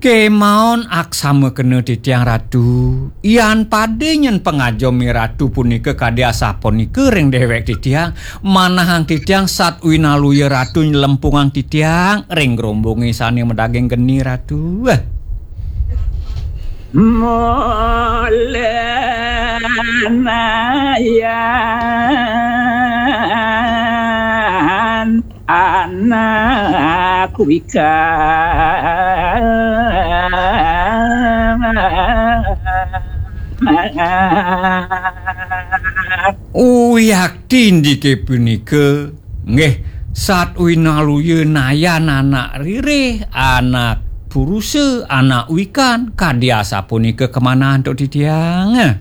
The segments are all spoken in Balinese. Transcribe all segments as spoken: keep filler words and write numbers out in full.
Kemaon aksama kena titiang Ratu, yan pada nyen pangajeme Ratu punika kadi asapunika ring dewek titiang, manahang titiang sat winaluya Ratu nylempungang titiang ring grombonge sane madaging geni Ratu. Mulanayan anak wika. Uyakti indike punika, nggih, sat winaluya nayan anak ririh, anak purusa, anak wikan, kadi asapunika kamanah antuk titiang.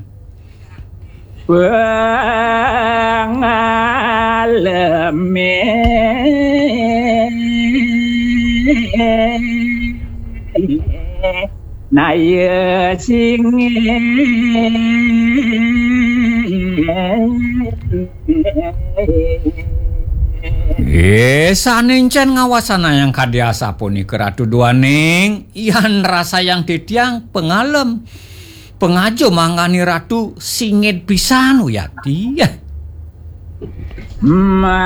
Pangaleme naya singe. Eh, sane encen ngawasanayang kadi asapunika Ratu duaning, yan rasayang titiang pangalem. Pangaja manggane Ratu singit pisan, Uyakti. Manusa